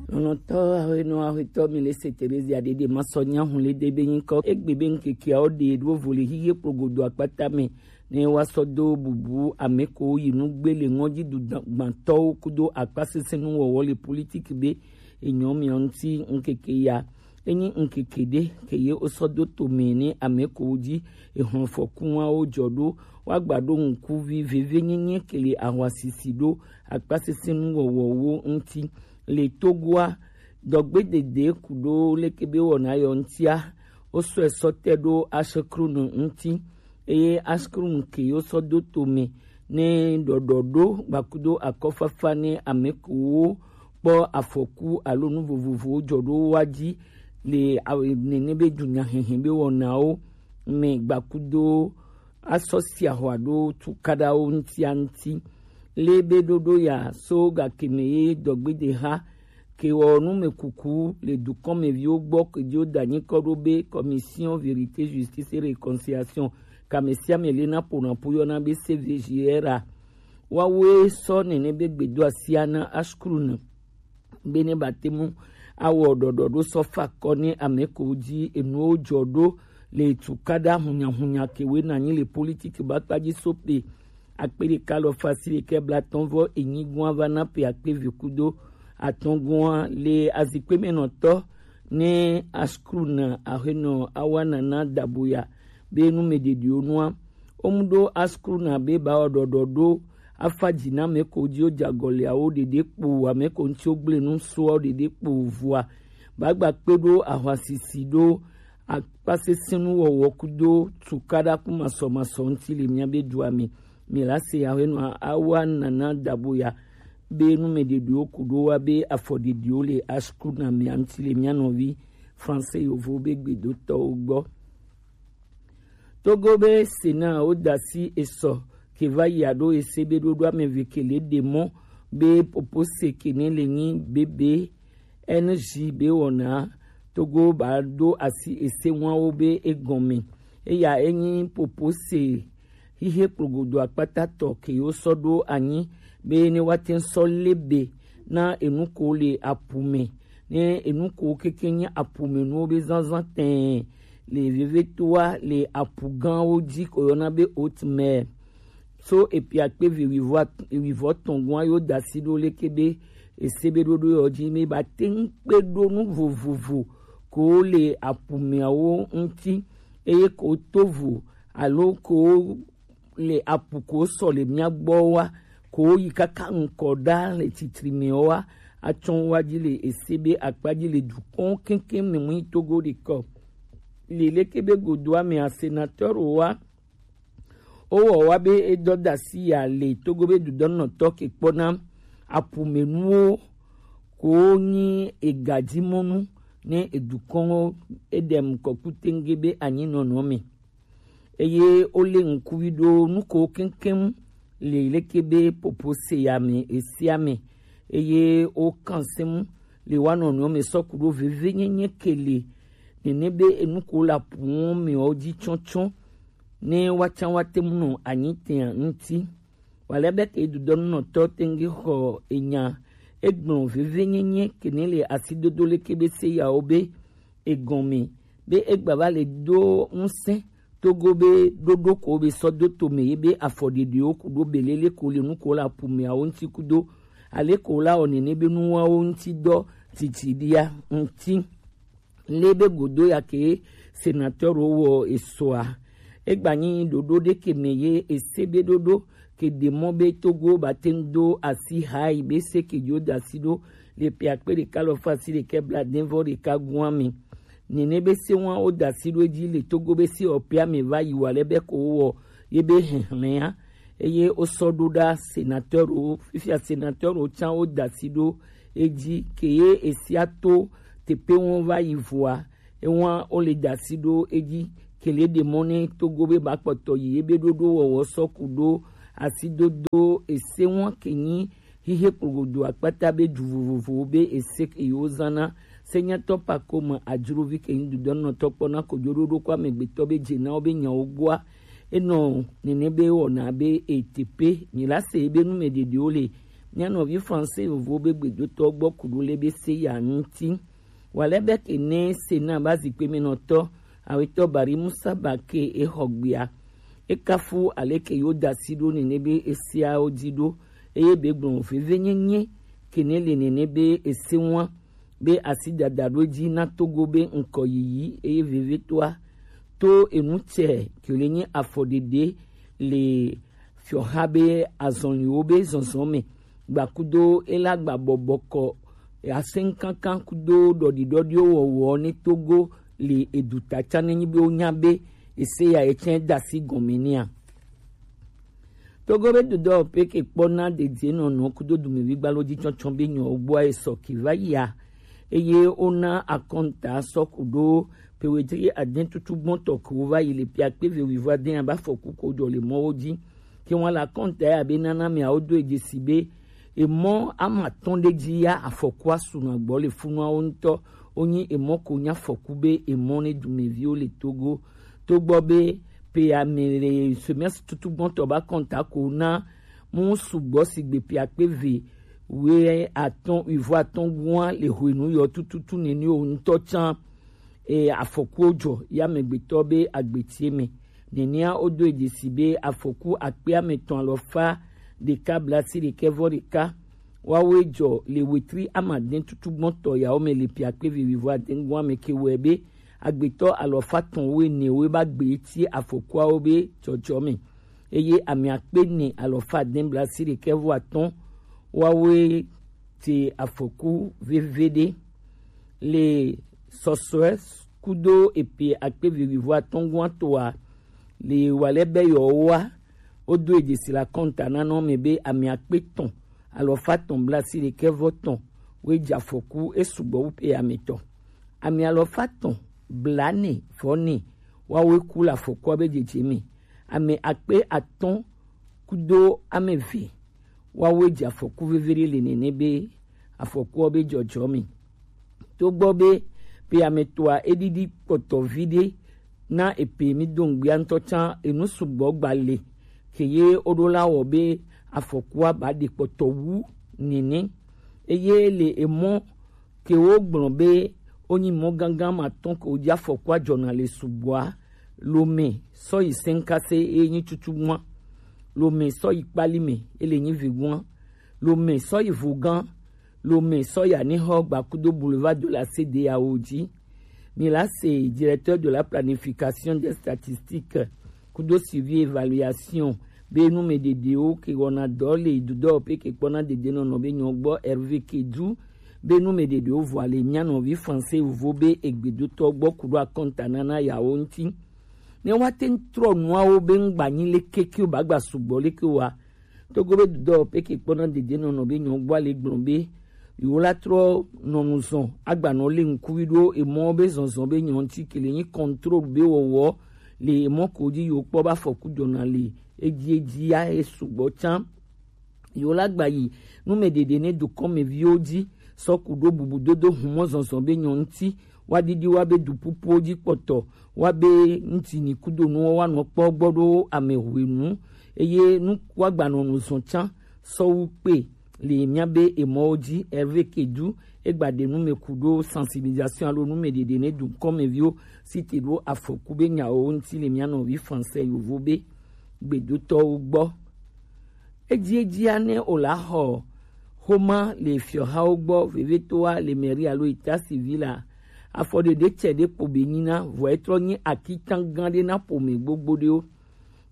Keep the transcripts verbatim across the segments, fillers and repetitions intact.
Lɔlɔ̃tɔ aƒenɔ aƒetɔ mi le se Terezia ɖeɖe ma sɔ nya hu le de be nyikɔ egbe be ŋkekea wo ɖe ɖo vo le hihe kplogodo akpata me ne wa sɔ do bubu ame ko yi nugbe le ŋɔdzi du gbãtɔwo kudo akpasesẽ nuwɔwɔ le politiki be enyɔ mia ŋuti ŋkeke ya. Enyi ŋkeke ɖe ke ye wo sɔ do to me ne ame ko dzi ehlɔ̃fɔkuwawo jɔ ɖo wa gba ɖo ŋkuvi veve nyenye ke le ahwasisi ɖo akpasesẽ nuwɔwɔwo ŋuti. Le Togoa, dɔgbedede kudo leke be wɔna yɔ ŋutia, wo sɔe sɔ te ɖo Ashkrun ŋuti, eye Ashkrun ke yo sɔ do to me ne ɖɔɖɔɖo gbakudo akɔfafa ne ame kewo kpɔ afɔku alo nu vovovowo jɔ ɖo wa dzi le aw-, nene be dunyahehe be wɔnawo me gbakudo asɔ sia xɔa ɖo tukaɖawo ŋutia ŋuti. Le be ɖoɖo ya so gakeme ye dɔgbedeha ke wɔ numekuku le dukɔmeviwo gbɔ ke dzo da nyikɔ ɖo be Commission Vérité, Justice et Réconciliation, kame sia me le na ƒo na ƒu yɔna be C V J R a. Woawoe sɔ nene be gbedoasia na Ashkrun be ne bate ŋu awɔ ɖɔɖɔɖo sɔ fa kɔ ne ame ko dzi enuwo jɔ ɖo le tukaɖa hunyahunya kewoe nanyi le politiki bakpa dzi so pe akpe ɖeka alafa asiɖekɛ blaatɔ̃ vɔ enyi gɔ̃a va na pe akpe eve kudo atɔ̃ gɔ̃a le azikpe me nɔtɔ ne Ashkrun aƒenɔ Awa Nana Daboya be numeɖeɖiwo nua. Womu ɖo Ashkrun be ba wɔ ɖɔɖɔɖo afa dzi na ame ko dzi wo dze agɔliawo ɖeɖe kpo, ame ko ŋuti wo gblẽ nu soa ɖeɖe kpo vɔa. Ba gba kpe ɖo ahwasisi ɖo akpasesẽ nuwɔwɔ kudo tukaɖa ku masɔmasɔ ŋuti le mia be dua me. Mi la se aƒenɔ Awa Nana Daboya be numeɖeɖiwo ku ɖo wa be afɔɖeɖiwo le Ashkrun mea ŋuti le mia nɔvi Français yovo be gbedotɔwo gbɔ. Togo be Sénat wo da asi esɔ ke va yi aɖo ese be ɖoɖo ame eve ke le ɖe mɔ be popose ke ne le nyi bebe N J be wɔna Togo ba ɖo asi ese wawo be egɔme. Eya enyi popose hihe kplogodo akpatatɔ ke yo sɔ ɖo anyi be ne woate sɔ lebe na enu ko le apu me, ne enu ko keke nye apu me nuwo be zazã tɛɛ le vevetoa le apu gãwo dzi ko yɔna be haute mer. So epia kpe vi wivɔ at-, wivɔ tɔn gɔ̃a yo da asi ɖo leke be ese be ɖoɖo yɔ dzi me ba te ŋu kpe ɖo nu vovovo ko le apu meawo ŋuti, eye ko tovo alo ko le apu ko sɔ le mia gbɔ wa, ko yi kaka ŋkɔ ɖa le titri me wa, atsɔ wa dzi le ese be akpa dzi le dukɔn keŋkeŋ me mu yi Togo ɖekɔ. Le leke be godoa mea, sénateur wa, wowɔ wa be edɔ da asi ya le Togo be dudɔnɔtɔ ke kpɔna apumenuwo ko nyi egadimɔnu ne edukɔnwo eɖem kɔkutenge be anyinɔnɔ me. Eye wole ŋkuvi ɖo nuko keŋkeŋ le leke be popo se ya me esia me. Eye wokan se mu le wa nɔnɔewo me sɔ ku ɖo vevenyenye ke le nene be enuko le apuwo me wo dzi tsɔtsɔ ne woatsã woate ŋu nɔ anyi tea ŋuti. Wale be ke dudɔnunɔtɔ tenge xɔ enya egblɔ vevenyenye ke ne le asidodo leke be se yawo be egɔme be egba va le do ŋusẽ togo be ɖoɖo ko be sɔ do tome ye be afɔɖeɖewo ku ɖo belele ko le nuko le apumeawo ŋuti kudo ale ko la wɔ nene be nuwawo ŋuti dɔ titiɖia ŋuti. Le be godo ya ke senateur wɔ esoa. Egba nyi ɖoɖo ɖe ke me ye ese be ɖoɖo ke ɖe mɔ be Togo ba te ŋu do asi ha yi be se ke dzo da asi ɖo le pe akpe ɖeka lɔ fa asi ɖekɛ bla dɛn vɔ ɖeka gua me. Nene be se wa wo da asi ɖo edzi le Togo be se ɔpea me va yi wa le be ko wɔ ye be hehlea. Eye wosɔ ɖo ɖa senateur wo, fifia senateur wo tsã wo da asi ɖo edzi ke ye esia to teƒe wo va yi vɔa, ewa wo le da asi ɖo edzi ke le ɖe mɔ ne Togo be ba kpɔtɔ yi ebe ɖoɖo wɔwɔ sɔ ku ɖo asidodo ese wa ke nyi hihe kplogodo akpata be du vovovowo be ese ke yewo zãna. Senyatɔ Pakome Adzrovi ke nyi dudɔnɔtɔ kpɔna kojoɖoɖo ko amegbetɔ be dze na wo be nyawo gbɔa. Enɔ nene be wɔna be eteƒe nyi la se be nu me ɖeɖewo le Nyanɔvi Français yovo be gbedotɔ gbɔ kuɖo le be se ya ŋuti. Wale be ke ne se na ba zikpe me nɔtɔ awetɔ Bari Musa ba ke e xɔ gbea. E kafu ale ke yo da si ɖo nene be e seawo dzi ɖo. Eye be gblɔ veve nyenye ke ne le nene be e se ŋua be asi dada ɖo dzi na Togo be ŋkɔ yiyi eye vevetoa to enu tsɛ ke le nyi afɔɖeɖe le fiɔha be azɔliwo be zɔzɔ me gbakudo ela gba bɔbɔkɔ asɛnkankan kudo ɖɔɖiɖɔɖiwo wɔwɔ ne Togo le eduta tsa ne nyi be wonya be ese ya etsɛ da si gɔme nea. Togo be dodɔ pe ke kpɔ na dedie nɔnɔ kudo dumevi gbalo dzi tsɔtsɔ be nyɔ gbɔa esɔ ki va yia. Eye wona akɔnta sɔ kudo pewetri aden tutu gbɔntɔ ko va yi le pia kpe ve wiva den aba fɔku ko jɔ le mɔwo dzi. Ke wọn la kɔnta ya be nana me awo do edze si be emɔ ama tɔn ɖe dzi ya afɔku asu na gbɔ le funuawo ŋutɔ. Wonyi emɔ ko nya afɔku be emɔ ne dumeviwo le Togo. Togbɔ be pe ame le semestre tutu gbɔntɔ ba kɔnta ko na mu sugbɔ sigbe pe akpe ve we atɔn wivo atɔn gua le hwenu yɔ tututu nene o ŋutɔ tsan e afɔkuwo jɔ ya amegbetɔ be agbetie me. Nenea wodo edze si be afɔku akpe ametɔn alɔfa ɖeka blasi ɖekɛ vɔ ɖeka wawoe jɔ le wetri amadɛn tutu gbɔntɔ yawo me le pia kpe vivivo adɛngua me ke wɔe be agbetɔ alɔfa tɔn wo enewo ba gbe eti afɔkuawo be jɔjɔ me. Eye ame akpe ne alɔfa adɛn blasi ɖekɛ vɔ atɔn wawoe te afɔku veve ɖe le sɔsɔe kudo epe akpe vivivo atɔngua toa le wale be yewoa wodo edze si la kɔnta nanɔ me be ame akpe tɔn alɔfa tɔn blasi ɖekɛ vɔ tɔn we dze afɔku esugbɔ wu pe ame tɔ. Ame alɔfa tɔn blane vɔ ne wawoe ku le afɔkua be dzedze me. Ame akpe atɔn kudo ame ve wawoe dze afɔku veve ɖe le nene be afɔkuɔ be jɔjɔ me. Togbɔ be pe ame toa eɖiɖi kpɔtɔ vi ɖe na epe mi do ŋgbia ŋutɔ tsã enu sugbɔ gba le ke ye woɖo la wɔ be afɔkua ba ɖe kpɔtɔ wu nene. Eye le emɔ ke wogblɔ be wonyi mɔ gangan ma tɔn ke wodzi afɔkua jɔna le sugbɔa lome sɔ yi sɛnkase eye nyi tutu gua lome sɔ yi kpali me ele nyi vi gua lome sɔ yi vogan lome sɔ yi anihɔ gbakudo boulevard de la C D A O dzi. Mi la se directeur de la planification des statistiques kudo suivi évaluation be numeɖeɖewo ke wɔna dɔ le dudɔ pe ke kpɔna dedenɔnɔ be nyɔ gbɔ Hervé Kedu be numeɖeɖewo vɔ ale mia nɔvi français vo be egbedotɔ gbɔ kudo akɔnta nana yawo ŋuti. Ne woate ŋu trɔ nuawo be ŋgba nyi le kekewo ba gba sugbɔ le ke wa. Togo be dudɔ pe ke kpɔna dedenɔnɔ be nyɔ gbɔ ale gblɔ be yewo la trɔ nɔnu zɔn agbanɔ le ŋkuvi ɖo emɔ be zɔnzɔn be nyɔ ŋuti ke le nyi contrôle be wɔwɔ le emɔ ko dzi yewo kpɔ be afɔku jɔna le edzi edzi ya esugbɔ tsã. Yewo la gba yi numeɖeɖe ne dukɔmeviwo dzi sɔ ku ɖo bubudodo humɔ zɔnzɔn be nyɔ ŋuti wa ɖiɖi wa be dupupuwo dzi kpɔtɔ wa be ŋuti ni kudo nuwo wa nɔ kpɔ gbɔ ɖo ame hwenu eye nu wa gba nɔnu zɔn tsã sɔwu kpe le mia be emɔwo dzi Hervé Kedu egba ɖe nume ku ɖo sensibilisation alo numeɖeɖe ne dukɔmeviwo si te ɖo afɔku be nyawo ŋuti le mia nɔvi français yovo be gbedotɔwo gbɔ. Edziedzia ne o la xɔ xoma le fiɔhawo gbɔ vevetoa le mairie alo état civil a afɔɖeɖe tsɛ ɖe kpo be nyina vɔ etrɔ nyi akitan gã ɖe na ƒome gbogbo ɖewo.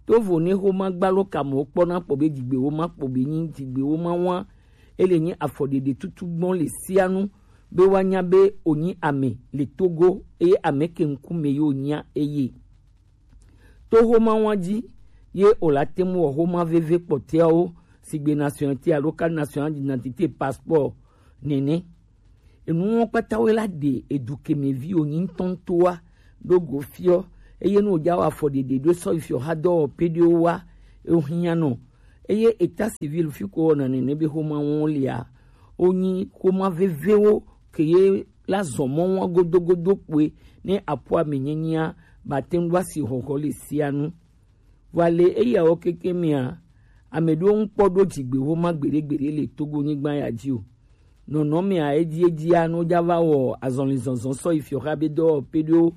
Tovo ne xoma gbalo kamewo kpɔna kpɔ be dzigbewo ma kpo be nyi dzigbewo ma wa ele nyi afɔɖeɖe tutu gbɔn le sia nu be woanya be wonyi ame le Togo eye ame ke ŋkume yewo nyia eye. To xoma wa dzi ye o la te ŋu wɔ xoma veve kpɔtɛawo sigbe nationalité alo carte nationale d'identité, passeport nene. Enuwo kpata wo la ɖe edu keme vi wonyi ŋutɔŋutɔa ɖo go fiɔ eye nu wòdza wɔ afɔɖeɖe ɖo sɔ yi fiɔ xa dɔwɔƒe ɖewo wa ehiã nɔ eye état civil fi ko wɔna nene be xoma wɔn lia wonyi xoma vevewo ke ye la zɔ mɔ wɔn godogodo kpoe ne aƒua me nyenyea ba te ŋu asi xɔxɔ le sia nu. Vɔ le eyawo keke mea, Ame ɖewo ŋkpɔ ɖo dzigbexoma gbeɖegbeɖe le Togo nyigba ya dzi o. Nɔnɔmea edi edia no ja va wɔ azɔli zɔnzɔn sɔ yi fiɔxa be dɔ pe ɖo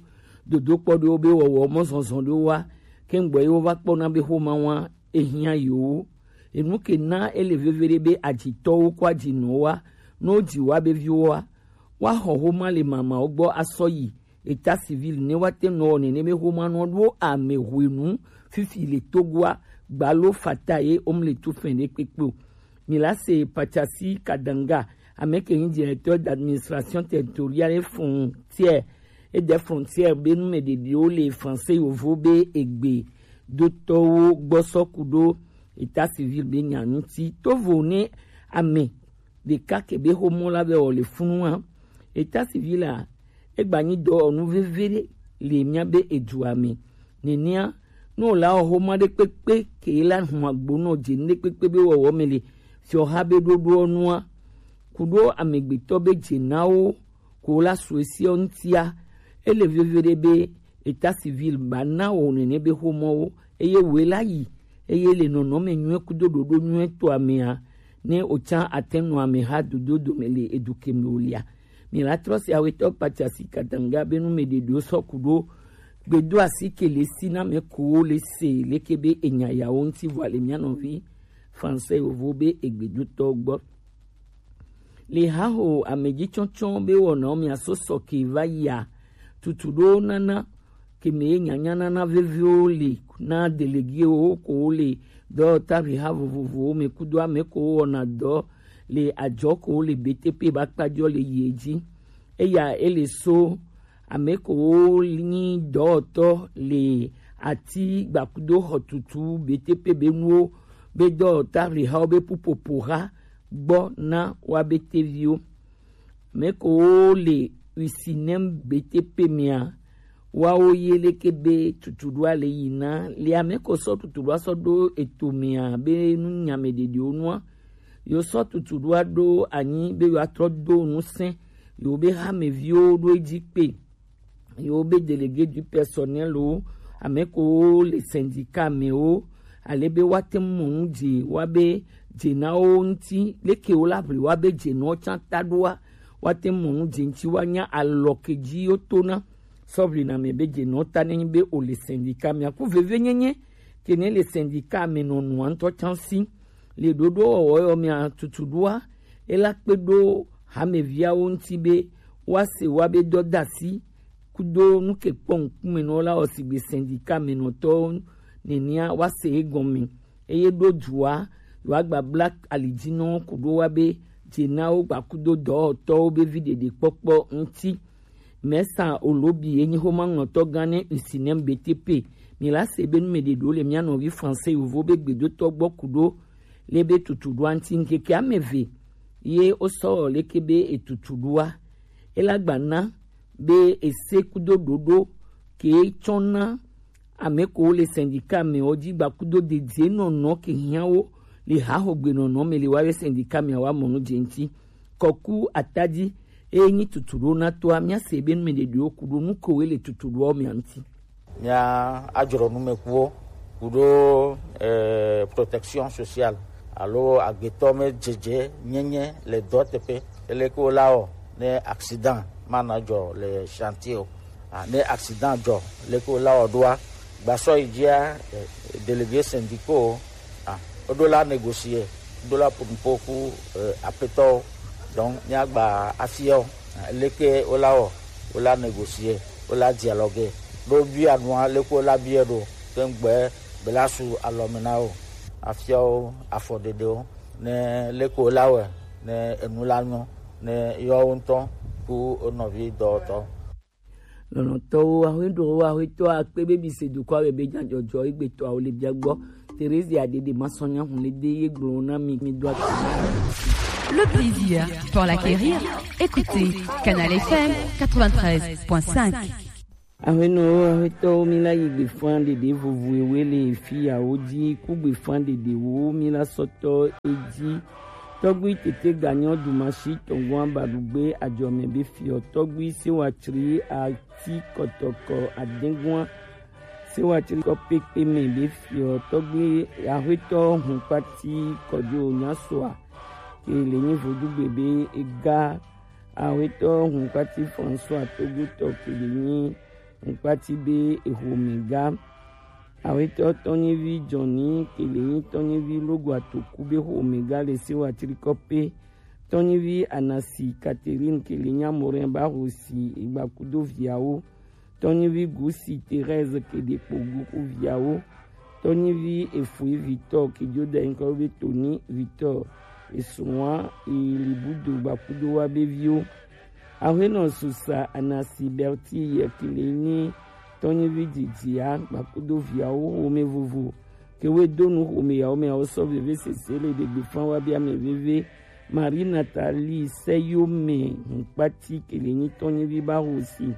dodo kpɔ ɖewo be wɔwɔ mɔ zɔnzɔn ɖewo wa. Kɛŋgbɔ yi wo va kpɔna be xoma wa ehiã yewo. Enu ke na ele veve ɖe be adzitɔwo kɔ adzinɔ wa no dzi wa be viwo wa. Wa xɔ xoma le mamawo gbɔ asɔ yi État civil ne wa te nɔ nene be xoma nɔ ɖo ame hwenu fifi le Togoa gbalo fata ye om le tu fɛn ɖe kpekpe o. Mi la se Pachasi Kadanga, ame ke nyi directeur d'administration territoriale frontière, et des frontières be nu me ɖeɖiwo le français yovo be egbe dotɔwo gbɔ sɔ ku ɖo état civil be nya ŋuti. Tovo ne ame ɖeka ke be xomɔ la be wɔ le funu hã. État civil a, egba nyi dɔ nu veve ɖe le mía be edua me. Nenea, ne wòle awɔ xoma ɖe kpekpe ke la hun agbo nɔ dze nu ɖe kpekpe be wɔwɔ me le fiɔxa be ɖoɖoɔ nua, ku ɖo amegbetɔ be dze na wo ko la su esiɔ ŋutia, ele veve ɖe be état civil ba na wɔ nene be xomɔwo, eye woe la yi, eye le nɔnɔme nyuie kudo ɖoɖo nyuie tɔa mea, ne wòtsa ate nɔ ameha dodo dome le edu ke me wòlea. Mi la trɔ se awetɔ Pachasi Kadanga be nu me ɖeɖewo sɔ ku ɖo gbedo asi ke le si na me ko wo le se leke be enya yawo ŋuti vɔ le mía nɔvi français yovo be egbedotɔ gbɔ. Le haho amedzitsɔtsɔ be wɔnawo mia so sɔ ke va yia tutu ɖo nana ke me ye nyanya nana veviwo le na déléguéwo ko wo le dɔwɔtahe ha vovovowo me kudo ame ko wo wɔna dɔ le adzɔ ko wo le B T P ba kpajɔ le yi dzi. Eya ele so ame ko wo nyi dɔwɔtɔ le ati gbakudo xɔtutu B T P be nuwo be dɔwɔtahe hawo be pupopo ha gbɔ na wa be teviwo. Ame ko wo le Usinem B T P mea, wawo ye leke be tutuɖoa le yi na le ame ko sɔ tutuɖoa sɔ ɖo eto mea be nu nyame ɖeɖewo nua. Yo sɔ tutuɖoa ɖo anyi be yo atrɔ do ŋusẽ yo be hameviwo ɖo edzi kpe. Yo be délégué du personnel o, ame ko wo le syndicat me o, ale be wa te mɔ nu dze wa be dze na wo ŋuti leke wo la ʋli wa be dze nɔ tsã ta ɖoa, wa te mɔ nu dze ŋuti wa nya alɔ ke dzi yo to na sɔʋli na me be dze nɔ ta ne nyi be o le syndicat me aku veve nyenye ke ne le syndicat me nɔ nua ŋutɔ tsã si. Le ɖoɖo wɔwɔ yɔ mia tutu ɖoa, ela kpe ɖo hameviawo ŋuti be woase woabe dɔdasi kudo nu ke kpɔ ŋkume nɔ la wɔ sigbe syndicat me nɔtɔwo nenea woase egɔme eye ɖo dua yewoagba bla alidzinɔwo ku ɖo wa be dze na wo gbakudo dɔwɔtɔwo be vi ɖeɖekpɔkpɔ ŋuti. Mesa Olobi ye nyi xomaŋlɔtɔ gã ne Usinem B T P. Mi la se be nu me ɖe ɖo le mia nɔvi français yovo be gbedotɔ gbɔ ku ɖo le be tutu ɖoa ŋuti ŋkeke ame eve ye wo sɔ leke be etutu ɖoa. Ela gba na be ese kudo ɖoɖo ke tsɔ na ame ko le syndicat me wo dzi gba kudo dedie nɔnɔ ke hiã wo le haxogbe nɔnɔ me le wa be syndicat me wa mɔ nu dze ŋuti. Kɔku atadi eye nyi tutu ɖo na toa mia se be nu me ɖeɖewo ku ɖo nu ko we le tutu ɖoa me ŋuti. Mia adzro numekuwo ku ɖo eh, protection sociale alo agbetɔ me dzedze nyenye le dɔ teƒe. Ele ko la wɔ ne accident mana dzɔ le chantier o. Ah, ne accident dzɔ le ko la wɔ ɖoa gbasɔ yi dzia eh, délégué syndicaux ah, woɖo la négocier, woɖo la ƒo nuƒo ku eh, aƒetɔwo. Donc míagba afiawo ah, leke wola wɔ, wola négocier, wola dialoguer. Ɖo bia nua leke wola bia ɖo keŋgbɛ bela su alɔme na wo. Afiawo afɔɖeɖewo ne leke wola wɔ ne enu la nyɔ ne yewoawo ŋutɔ ku wo nɔvi dɔwɔtɔ. Lɔlɔ̃tɔwo, ahɔeɖowo, ahɔetɔ akpe be bi se dukɔa me be nyadzɔdzɔ egbetɔawo le bia gbɔ. Teresia Dede Masɔnya Hunlede ye gblɔ na mi mi do ati. Le plaisir pour l'acquérir, écoutez Canal F M quatre-vingt-treize point cinq. Ahɔenɔwo, ahɔetɔwo, mi la yi gbefa ɖeɖe vovoewe le fiyawo dzi ku gbefa ɖeɖewo mi la sɔtɔ edzi. Tɔgbi tete ganyɔ dumasi tɔngɔn abaɖugbe adzɔme be fiɔ tɔgbi sewa tsri ati kɔtɔkɔ adengɔn Wa tri kɔ pekpe mɛ be fiɔ tɔgbe Axwetɔ Hunkpati Kɔjo Nyasoa ke le nyi vodugbe be ega Axwetɔ Hunkpati François Togutɔ ke le nyi Hunkpati be exomega. Axwetɔ Tɔnyivi Jɔni ke le nyi Tɔnyivi Logo Atoku be xomega le se wa tri kɔ pe. Tɔnyivi Anasi Catherine ke le nyi Amorin ba hosi egba kudo viawo. Tɔnyivi Gusi Thérèse ke ɖe kpo gu ku viawo. Tɔnyivi Efui Victor ke jo da nyikɔ be Tony Victor. Esuwa Elibudo gbakudo wa be viwo. Ahuenɔ Susa Anasi Berti yɛ ke le nyi Tɔnyivi Didia gbakudo viawo xome vovo. Ke we do nu xome yawo mɛ awo sɔ veve sese le ɖegbe fan wa bi ame veve. Marie Nathalie Seyome Hunkpati ke le nyi Tɔnyivi ba hosi.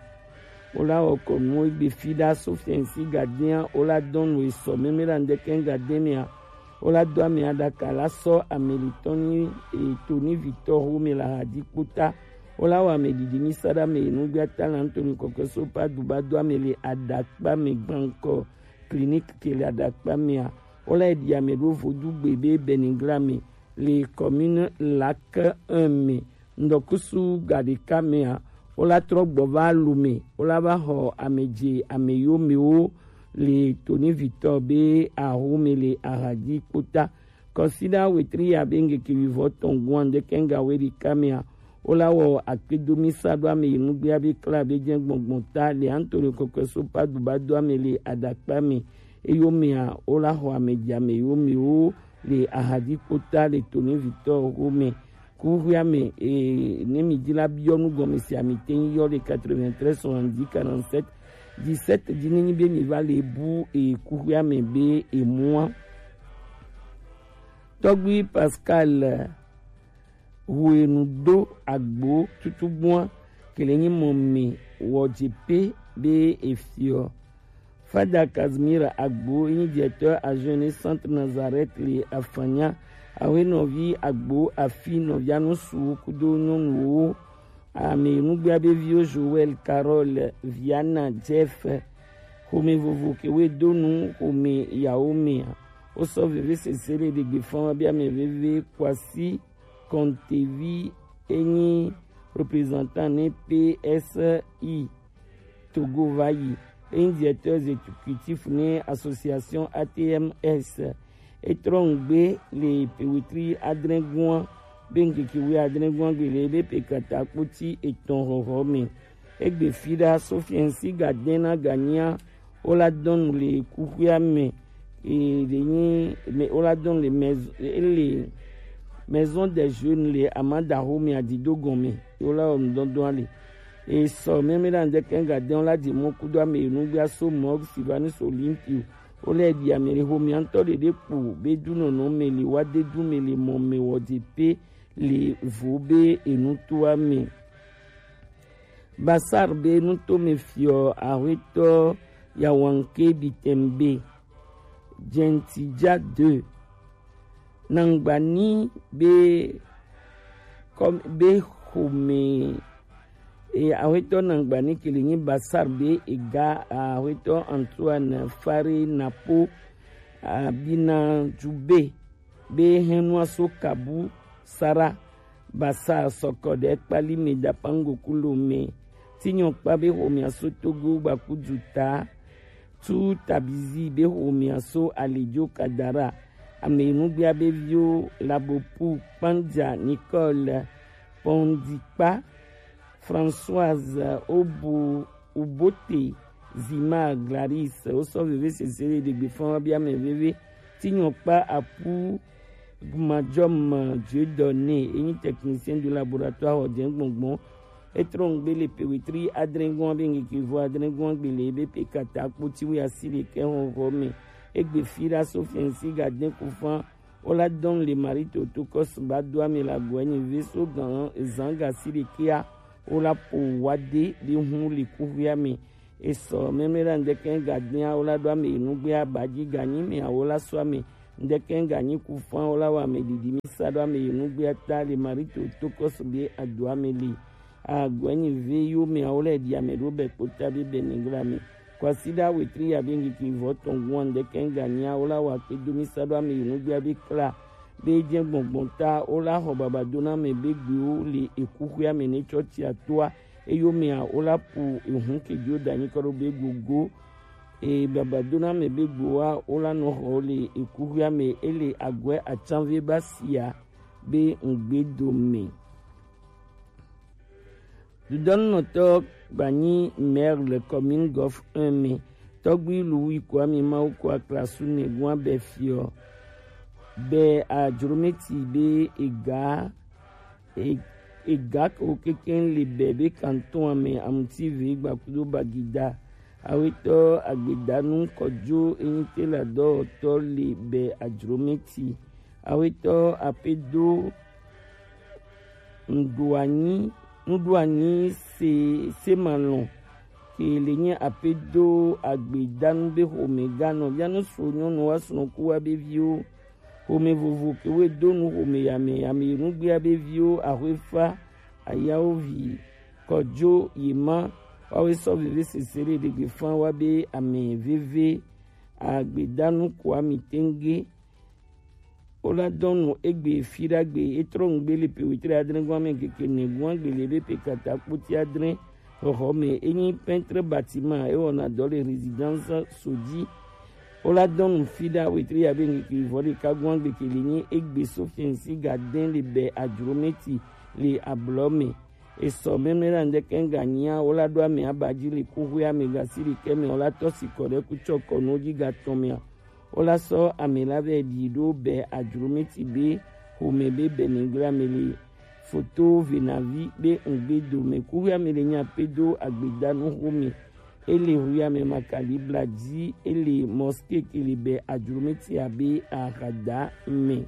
Wo la wɔ kɔnu egbe fi ɖa Sophie si gadea wo la dɔn nu esɔ mɛmɛ la ŋdɛkɛ gademea. Wo la do ame aɖaka la sɔ ame li Tɔnyi e Tony Victor xome la hadi kpota. Wo la wɔ ame didi mi sa ɖa me enugbe ata la ŋtoni kɔkɔ so pa du ba do ame le aɖakpa me gbankɔ clinique ke le aɖakpa mea. Wo la ɖi ame ɖo vodugbe be Benigla me le commune Lac un me. Ŋdɔkusu gaɖeka mea, wo la trɔ gbɔ va Lome, wo la va xɔ ame dze ame yomewo le Tony Victor be axome le ahadi kpota. Kɔsiɖa wetri ya be ŋgeke wivɔ tɔn gua ŋdɛkɛ ŋga we ɖeka mea, wo la wɔ akpedomi sa ɖo ame yi nugbea be kla be jɛ gbɔngbɔn ta le Antonio kɔkɔe so pa du ba do ame le aɖakpa me. Eyomea, wo la xɔ ame dze ame yomewo le ahadi kpota le Tony Victor xome. Kuxuia me, e, ne mi di la biɔ nu gɔme si ami te yɔ le quatre-vingt-treize soixante-dix quarante-sept dix-sept di ne nyi be mi va le bu, e, kuxuia me be emua. Tɔgbi Pascal, hu enu do agbo tutugbua ke le nyi mɔ me wɔ dze pe be efiɔ. Fada Casimir Agbo, yi nyi directeur adjoint ne Centre Nazareth le Afanya, awe nɔvi Agbo afi nɔvia nusu kudo nyɔnuwo, ame nugbea be viwo Joël, Carole, Viana, Jeff, xome vovo ke we do nu xome yawo mea. Wo sɔ veve sese le ɖegbe fan wa be ame veve Kwasi Kontevi enyi représentant ne P S I Togo va yi. Enyi directeur exécutif ne association A T M S. Etrɔ ŋgbe le pewetri adrɛgua be ŋkeke wi adrɛgua gbe le ebe pe kata kpoti etɔn xɔxɔ me. Egbe fi ɖa Sofiɛnsi gadɛn na ganyia wo la dɔn le kuxuia me. E le nyi me wo la dɔn le maison, ele maison des jeunes le amadaxo me adido gɔme. Wo la wɔ nudɔdɔn ale. E sɔ mɛmɛ la ŋdɛkɛ gadɛn wo la di mɔ kudo ame yi nugbea so mɔ Silvanus Olympio. Wo lɛ ɖi ame le xomea ŋtɔ ɖeɖe kpo be dunɔnɔ me le wa de du me le mɔ me wɔ de pe le vo be enutoa me. Basar be nuto me fiɔ ahwetɔ Yawanke Bitembe Gentija deux. Nangbani be kɔm be xome e ahwetɔ Nangbani ke le nyi Basar be ega ahwetɔ Antoine Fare Napo abina jube be hɛnua so kabu sara basa sɔkɔ ɖe kpali me da pango kulo me. Tinyɔ kpa be xomea so Togo gbaku juta tu tabizi be xomea so alijo kadara. Ame nugbea be viwo Labopu Kpanja Nicole Pondikpa Françoise Obo Ubote Zima Gladys wo sɔ veve sese le ɖegbe fɔn wa bi ame veve. Tinyɔ kpa apu Gmadjɔm Dieudonné enyi technicien du laboratoire ɔdze gbɔngbɔn. Etrɔ ŋgbe le pewetri adrɛgɔn be ŋkeke vo adrɛgɔn gbe le ebe pe kata kpoti wi asi ɖekɛ xɔxɔ me. Egbe fi ɖa Sofiɛnsi gadɛn kufan wo la dɔn le Marie Toto kɔsu ba do ame la gɔɛ nyi ve so gan zan gasi ɖekɛa wo la po wa de be hun le kuxuia me. Esɔ mɛmɛ la ŋdɛkɛ gadɛn wo la do ame nugbea ba ji ganyi me awo la so ame ŋdɛkɛ ganyi kufan wo la wa ame didi mi sa do ame nugbea ta le Marie Toto kɔsu be ado ame le. Agɔɛ nyi ve yo me awo lɛ ɖi ame ɖo bɛ kpota be bɛ nigla me. Kwasiɖa wetri ya be ŋkeke vɔ tɔn gun ande kɛn ganya wo la wa kpe do mi sa ɖo ame yi nugbe abe kla be jɛ gbɔngbɔn ta wo la xɔ baba do na ame be gbewo le ekuxuia me ne tsɔ tsia toa eyo mea wo la pu ehun kejo da nyi kɔ ɖo be gogo e baba do na ame be gbewoa wo la nɔ xɔ le ekuxuia me ele agɔe atsanve ba sia be ŋgbe do me. Dudɔnnɔtɔ gbanyi maire le commune Golf un me. Tɔgbi Louis Kwame Mawu ko aklasu ne gua be fiɔ be ajrometi be ega e- ega ko keken le be be kanton ame amuti ve gbakudo bagida awetɔ agbedanu kɔjo enyite la dɔwɔtɔ le be ajrometi awetɔ apedo Nuɖuanyi nuɖuanyi se semalɔn ke le nye apedo agbedanu be xome ganɔ vianu so nyɔnu wa srɔ̃ku wa be viwo xome vovo ke we do nu xome yame yame nugbea be viwo axwefa ayawo vi kɔdzo yema wawe sɔ veve sese ɖe ɖegbe fan wa be ame veve agbedanu koa mi tenge. Wo la dɔn nu egbe fi ɖagbe e trɔ ŋgbe le pe wetri adre gɔn ame keke ne gɔn agbe le be pe kata kpoti adre xɔxɔ me e nyi peintre bâtiment e wɔna dɔ le résidence Sodzi. Wo la dɔn nu fi ɖa wetri ya be ŋkeke vɔ ɖeka gɔn agbe ke le nyi egbe Sofiɛnsi Gadɛn le be ajrometi le ablɔ me. Esɔ mɛmlɛ la ŋdɛkɛ ŋga nyia wo la ɖo ame aba dzi le kuxuia me gasi ɖekɛ me wo la tɔ sikɔ ɖe kutsɔ kɔnuwo dzi gatɔn mea. Wo la sɔ ame la vɛ ɖi ɖo be ajrometi be xome be bɛnɛgla me le foto venavi be ŋgbe dome kuxuia me le nya pe do agbedanu xome. Ele huya me makali bla dzi ele mɔske ke le be ajrometi abe ahada me.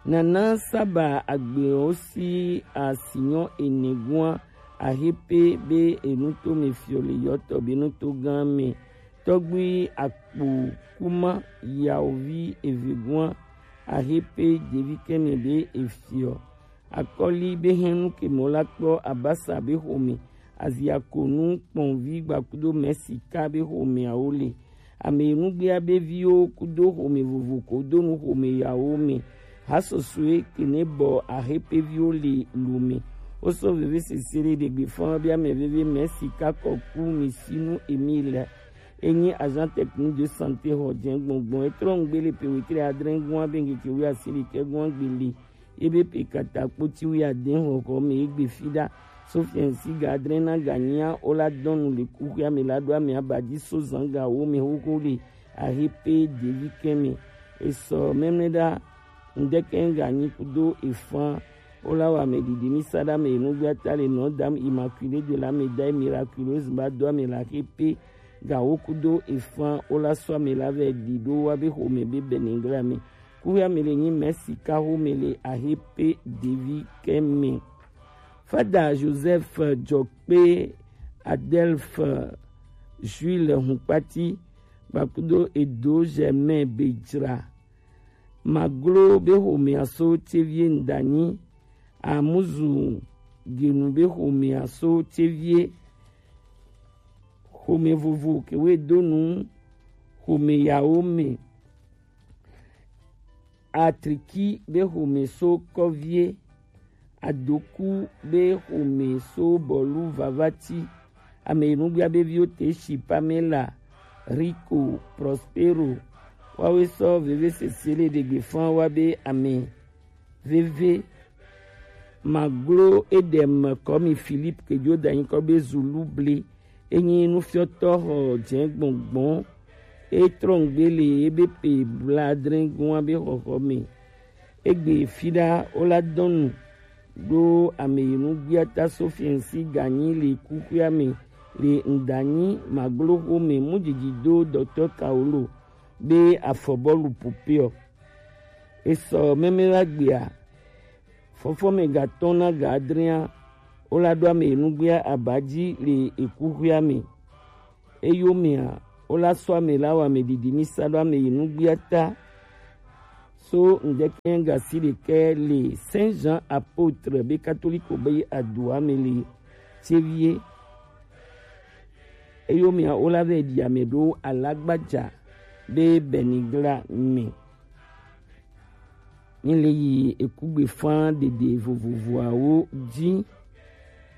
Nana saba agbewo si asinyɔ ene gua ahepe be enuto me fiɔ le yɔtɔ be nuto gã me. Tɔgbui akpo kuma yawovi eve gua ahepe devi kɛmɛ be efiɔ. Akɔli be hɛnu ke mɔ la kpɔ abasa be xome azia konu kpɔnvi gbakudo mɛsika be xome awo le. Ame nugbea be viwo kudo xome vovo ko do nu xome yawo me. Hasosue kene bɔ ahepeviwo le lu me. Wo sɔ veve sese ɖe ɖegbe fɔn be ame veve mɛ sika kɔku mi sinu emi le. Enyi agent technique de santé xɔ dze gbɔngbɔn etrɔ ŋgbe le pe wetri adre gɔn abe ŋkeke wi asi ɖekɛ gɔn agbe le. Ebe pe kata kpoti wi adre xɔxɔ me egbe fi ɖa. Sofiɛnsi ga adre na ga nyia wo la dɔn nu le kuxuia me la ɖo ame aba dzi so zan ga wo me xoxo le ahepe devi kɛmɛ. Esɔ mɛmlɛ ɖa ŋdɛkɛ ŋga nyi kudo efan wo la wa ame ɖiɖi mi sa ɖa me enugbea ta le nɔ dam immaculée de la médaille miraculeuse ba do ame la hepe ga wo kudo efan wo la sɔ ame la vɛ ɖi ɖo wa be xome be bɛnɛgla me. Kuya me le nyi mɛsika xome le ahepe devi kɛmɛ. Fada Joseph Jɔkpe Adelphe Jules Hunkpati gbakudo Edo Germain Bejra. Maglo be xomea so tevie ŋdanyi amuzu genu be xomea so tevie xome vovo kewe donu xome yawo me. Atriki be xome so kɔvie. Adoku be xome so bɔlu vavati. Ame yi nugbea be viwo te si Pamela, Rico, Prospero. Wawe sɔ veve sese le ɖegbe fan wa be ame veve. Maglo Edem kɔmi Philippe kejo danyi kɔ be Zulu ble. Enyi nufiɔtɔ xɔ dze gbɔngbɔn. Etrɔ ŋgbe le ebe pe bladre gɔn be xɔxɔ me. Egbe fiɖa wo la dɔnu ɖo ame yi nugbia ta Sofiɛnsi ganyi le kuxuia me le ŋdanyi magloxo me mujiji do dɔtɔ Kaolo be afɔbɔlu popeɔ. Esɔ mɛmɛ la gbea fɔfɔme gatɔn na ga adrea wo la ɖo ame yi nugbia aba dzi le ekuxuia me. Eyomea wo la sɔ ame la wɔ ame ɖiɖi mi sa ɖo ame yi nugbia ta. So ŋdɛkɛ gasi ɖekɛ le Saint Jean Apôtre be katoliko be adua me le tevie. Eyo mia wo la vɛ ɖi ame ɖo alagbaja ɖe Benigla me. Mi le yi ekugbe fan ɖeɖe vovovoawo ji.